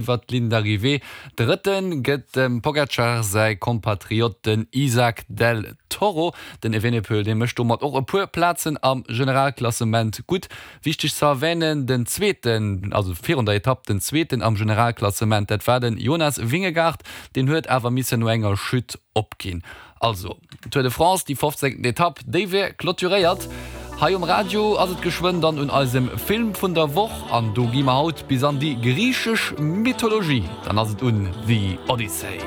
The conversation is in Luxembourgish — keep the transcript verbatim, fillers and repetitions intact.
Iwwer d'Ligne d'arrivée. Drëtte gëtt dem Pogacar säi Kompatriot den Isaac del Toro. Den Evenepoel dee mécht domat och e puer Plazen am Generalklassement gutt. Wichteg ze erwänen, den zweeten, also virun der Etapp den zweeten am Generalklassement, dat war den Jonas Vingegaard, deen huet awer missen no enger Chute opginn. Also, Tour de France, déi fofzéngten Etapp, déi wier clôturéiert. Hei um Radio ass et geschwënn dann un eisem Film vun der Woch an do gi mer haut bis an déi griichesch Mythologie. Dann ass et un The Odyssey.